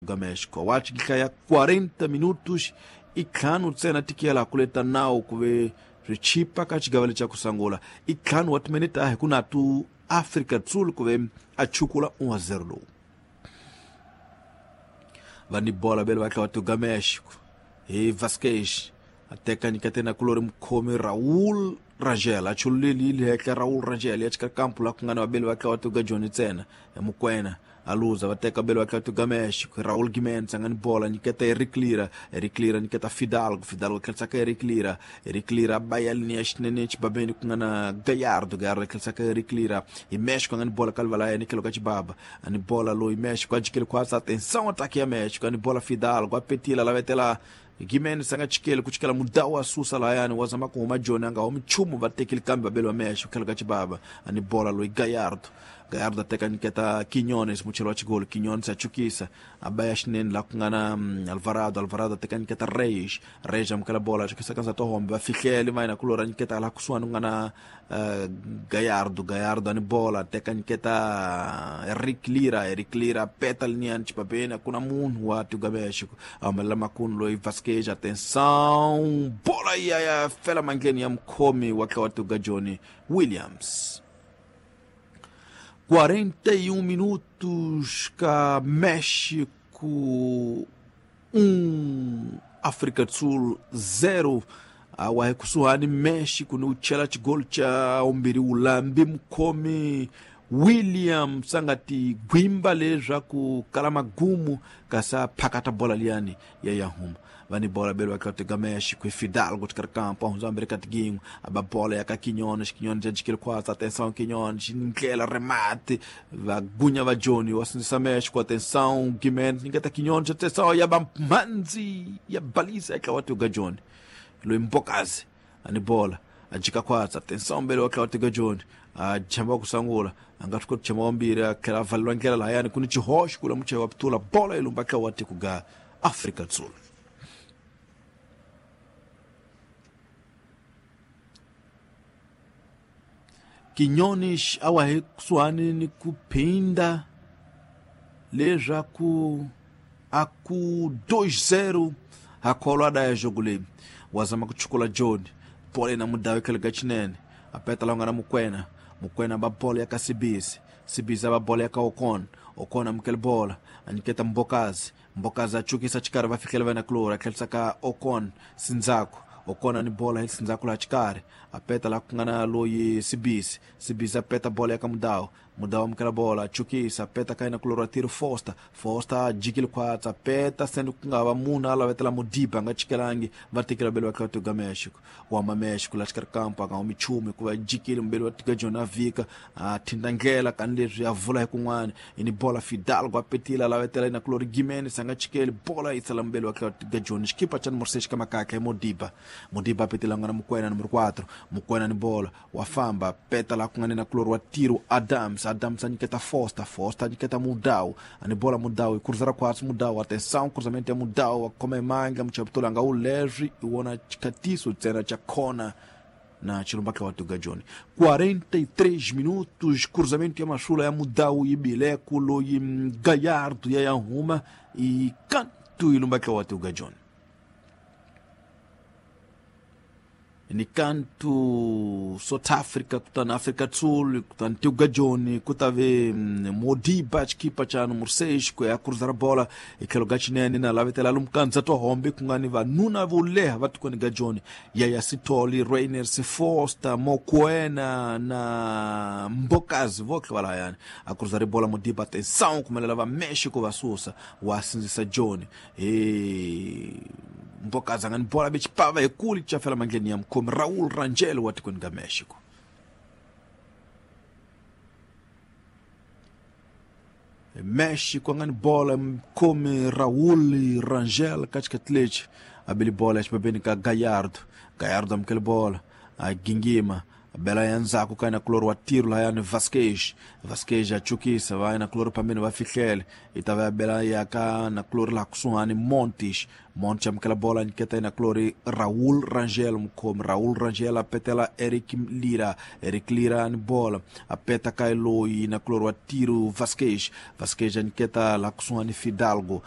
Ga México wachi ya 40 minutos itlhanu ntsena tikela kuleta nawu kuve swichipa ka xigavelo xa kusangula itlhanu wa timinete ahi ku na tu Afrika do Sul kuve a chukula 1-0 lowu va ni bola bele va tla wa ga México hi Vasquez a teka nyiketena kulori mukhomi Raul Rangel a chululeli henhla Raul Rangel ya chika kampu la ku nga na vabeli va tla wa ga Johnny ntsena ya Mukwena a luza va teka bele va tla ga México Raul Gimenez a nga ni bola nyiketa Eric Lira, Eric Lira nyiketa Fidalgo, Fidalgo tlherisa ka Eric Lira, Eric Lira ba ya linia xinene xibabeni ku nga na Gallardo, Gallardo tlherisa ka Eric Lira hi México a nga ni bola ka livala ya nikelo ka xibaba a ni bola loyi México a jikeli khwatsa atenção ataque ya México a ni bola Fidalgo a petila lavetela Gimenez a nga chikeli ku chikela mudawu a susa layani wa zama ku huma Joni a nga humi nchumu va tekile kambe vabeli va México tlhelo ka xibaba a ni bola loyi Gallardo, Gallardo a teka nyiketa Quiñones muchelo wa xigolo Quiñones a chukisa a ba ya xinene laha ku nga na Alvarado, Alvarado a teka nyiketa Reyes, Reyes amukela bola a chukisa ka ndzhaku hombe va fihlele va yena kulora nyiketa laha kusuhani ku nga na Gallardo, Gallardo a ni bola a teka nyiketa Eric Lira, Eric Lira peta liniyani xibabeni a ku na munhu wa Tiga México a humelela makunu loyi Vasquez atenção bola ya ya fela mandleni ya mukhomi wa tla wa Tiga Johnny Williams. 41 minutos ka México 1 África do Sul 0 awa hi kusuhani México ni u chela xigolo xa umbirhi wulambi mukhomi Williams a nga ti gwimba leswaku kala magumu kasi a phakata bola liyani ya ya huma va ni bola bele va tla México hi Fidalgo xikarhi kampo a hundza ambirhi ka tigin'we a ba bola ya ka Quiñones, Quiñones ya jikeli khwatsa atenção Quiñones ndlela remate va gunya va Johnny wa sindzisa México atenção Gimenez nyiketa Quiñones atenção ya ba mhandzi ya balisa ya tlawa ga Johnny loyi Mbokazi a ni bola a jika khwatsa atenção mbele wa tlawa ga Johnny a jamba ku sangula a nga swi koti jamba wambirhi a tlhela a valeliwa ndlela lahayani ku ni xihoxo kula muchayi wa pitula bola yi lumba tlawa tiko ga Afrika do Sul. Quiñones awa hi kusuhani ni ku phinda leswaku a ku 2-0 ha kholwa daya jogo leyi wa zama ku chukula Johnny bola yi na mudawu etlhelo ka xinene a peta la nga na Mukwena, Mukwena ba bola ya ka Sibisi, Sibisi a ba bola ya ka Okon, Okon amukela bola a nyiketa Mbokazi, Mbokazi a chukisa xikarhi va fihlela va na kulora a tlherisa ka Okon Sindzako, Okon a ni bola hi Sindzako laha xikarhi a peta laha ku nga na loyi Sibisi, Sibisi a peta bola ya ka Mudawu, Mudawu amukela bola a chukisa a peta ka yena kulora Tiro Foster, Foster a jikile khwatsa a peta send ku nga va munhu a lavetela Modiba a nga chikelangi va tekela bele va tlhela Tiga México wa ma México laha xikarhi kampo a nga humi nchumu hikuva jikile mubeli wa Tiga Johnny a vhika a thinta ndlela kani leswi a vula hi kun'wana i ni bola Fidalgo a petile a lavetela yena kulori Gimenez a nga chikeli bola yi sala mubeli wa tlhela Tiga Johnny xikipa xa nomoro 6 ka makakha hi Modiba, Modiba a petile a nga na Mukwena nomoro 4 Mukwena ni bola wa famba peta laha ku nga ni na kulori wa Tiro Adams, Adams a nyiketa Foster, Foster a nyiketa Mudawu a ni bola Mudawu hi kurisa ra khwatsi Mudawu atenção cruzamento ya Mudawu wa khoma hi mandla muchaputula nga wu leswi i wona xikhatiso ntsena xa khona na xilumba tla wa Tiga Johnny. 43 minutos cruzamento ya masula ya Mudawu yi bile ku loyi Gallardo ya ya huma i kantu yi lumba tla wa Tiga Johnny ni kantu South Africa kutani Afrika do Sul kutani Tiga Johnny ku ta ve Modiba xikipa xa nomoro 6 ku ya cruzar bola hi tlhelo ka xinene na lavetela lomu ka to hombe ku nga ni vanuna vo leha va tikweni ga Johnny Yaya Sithole, Rainers Foster, Mokoena na Mbokazi votlhe va lahayani a cruzar bola Modiba atenção kumelela va México va susa wa sindzisa Johnny hi Mbokazi a nga ni bola be xipava hi kuli chafela mandleni ya mukhomi Raul Rangel wa tikweni ga México. México a nga ni bola mukhomi Raul Rangel ka xikhathi lexi a beli bola xibabeni ka Gallardo, Gallardo amukele bola a gingima bela ya ndzhaku ka yena kulori wa Tiro lahayani Vasquez, Vasquez a chukisa va yena kulori phambeni va fihlele yi ta va ya bela ya ka na kulori laha kusuhani Montes, Montes amukela bola nyiketa yena kulori Raul Rangel mukhomi Raul Rangel a petela Eric Lira, Eric Lira ni bola a peta ka loyi na kulori wa Tiro Vasquez, Vasquez a nyiketa laha kusuhani Fidalgo.